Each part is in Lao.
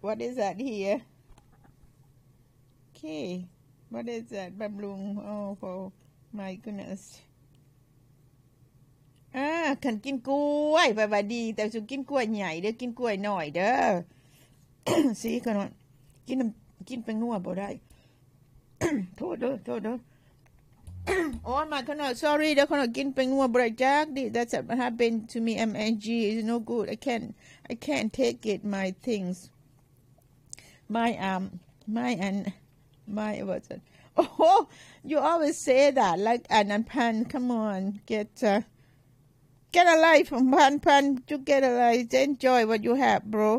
What is that here? Okay. What is that? ບຳລຸງ. Oh, oh my goodness. ອ່າ ຄັນກິນກ້ວຍແປວ່າດີ, ແຕ່ສຸກິນກ້ວຍໃຫຍ່ເດີ້, ກິນກ້ວຍນ້ອຍເດີ້. ສີຂະນ້ອຍ ກິນນຳ ກິນແປ້ງນົວບໍ່ໄດ້. ໂທດເດີ້ ໂທດເດີ້. ໂອ້ຍ ມາຂະນ້ອຍ sorry ເດີ້ ຂະນ້ອຍກິນແປ້ງນົວບໍ່ໄດ້ຈັກດິ. That's what happened to me. M S G is no good. I can't, I can't take it. My things, my, um, my, and my, what's it? Oh, you always say that. Like, ອັນນັ້ນ ພັນ come on, get, uh, get a life ພັນ ພັນ you get a life. Enjoy what you have, bro.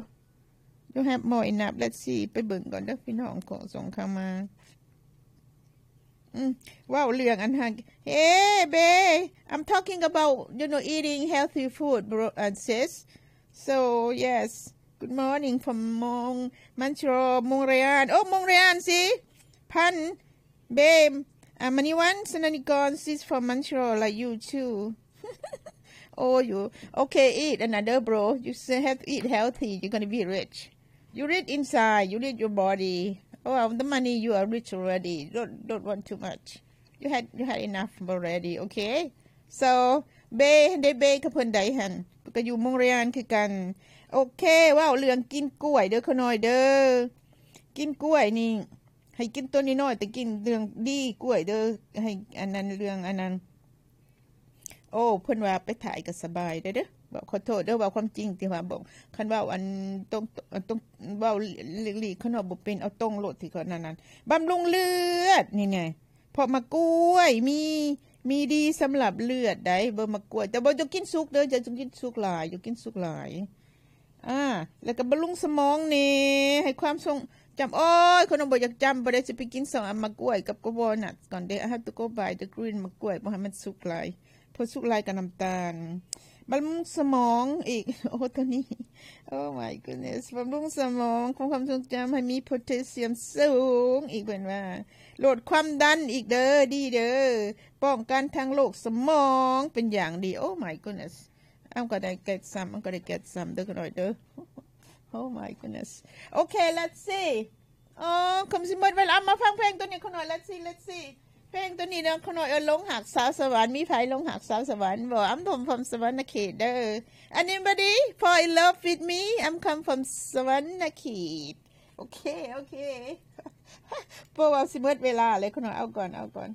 You have more enough. Let's see. ໄປເບິ່ງກ່ອນເດີ້ພີ່ນ້ອງ ຂອງສົ່ງເຂົ້າມາ. ອືມ ເວົ້າເລື່ອງອັນຫັ້ນ. Hey, babe, I'm talking about, you know, eating healthy food, bro and sis. So, yes. Good morning from Mon-, Montreal, Montreal. Oh, Montreal, see? ພັນ Babe, uh, Maniwan Sananikorn, she's from Montreal, like you too. Oh, you. Okay, eat another, bro. You still have to eat healthy. You're gonna be rich. You rich inside. You rich your body. Oh, the money, you are rich already. Don't, don't want too much. You had, you had enough already, okay? So, Babe, ໄດ້ Babe ກັບເພິ່ນໃດຫັ້ນ? ກໍຢູ່ Montreal ຄືກັນ. ໂອເຄ ເວົ້າເລື່ອງກິນກ້ວຍເດີ້ ຂະນ້ອຍເດີ້. ກິນກ້ວຍນີ້ ໃຫ້ກິນໂຕນ້ອຍໆ ແຕ່ກິນເລື່ອງດີກ້ວຍເດີ້ ໃຫ້ອັນນັ້ນເລື່ອງອັນນັ້ນ. ໂອ້ ເພິ່ນວ່າໄປຖ່າຍກໍສະບາຍເດີ້. ເວົ້າ ຂໍໂທດເດີ້ ເວົ້າຄວາມຈິງທີ່ວ່າບອກ ຄັນເວົ້າອັນຕົງ ຕົງ ເວົ້າຫຼີກໆ ຄັນເວົ້າບໍ່ເປັນ ເອົາຕົງໂລດທີ່ເຂົານັ້ນ ບຳລຸງເລືອດນີ້ແນ່ ເພາະໝາກກ້ວຍມີ ມີດີສຳລັບເລືອດໃດ໋ ເບິ່ງໝາກກ້ວຍ. ແຕ່ບໍ່ ຢ່າກິນສຸກເດີ້ ຢ່າກິນສຸກຫຼາຍ ຢ່າກິນສຸກຫຼາຍ. ອ່າ ແລ້ວກໍບຳລຸງສະໝອງແນ່ ໃຫ້ຄວາມຊົງຈຳ. ໂອ້ຍ ຄົນບໍ່ຢາກຈຳບໍ່ໄດ້ ຊິໄປກິນສອງອັນ ໝາກກ້ວຍກັບ walnuts ກ່ອນເດ້. I have to go buy the green ໝາກກ້ວຍ ບໍ່ໃຫ້ມັນສຸກຫຼາຍ ເພາະສຸກຫຼາຍກໍນ້ຳຕານ. ບຳລຸງສະໝອງອີກ ໂອ້ ໂຕນີ້ Oh my goodness ບຳລຸງສະໝອງ ຄວາມ ຄວາມຊົງຈຳ ໃຫ້ມີໂພແທສຊຽມສູງອີກ ເພິ່ນວ່າ ລົດຄວາມດັນອີກເດີ້ ດີເດີ້ ປ້ອງກັນທັງໂລກສະໝອງເປັນຢ່າງດີ. Oh my goodness. I'm gonna get some. I'm gonna get some ເດີ້ ຂະນ້ອຍເດີ້. Oh my goodness. Okay, let's see. ອໍ ຄຳຊິໝົດເວລາ ມາຟັງເພງໂຕນີ້ ຂະນ້ອຍ. Let's see, let's see. ເພງໂຕນີ້ເນາະ ຂະນ້ອຍ ເອີ້ນ ຫຼົງຮັກສາວສະຫວັນ. ມີໃຜຫຼົງຮັກສາວສະຫວັນບໍ່? I'm from ສະຫວັນນະເຂດເດີ້. Anybody fall in love with me? I'm come from ສະຫວັນນະເຂດ. ໂອເຄ ໂອເຄ ເພາະວ່າຊິໝົດເວລາແລ້ວ ຂະນ້ອຍ. ເອົາກ່ອນ ເອົາກ່ອນ.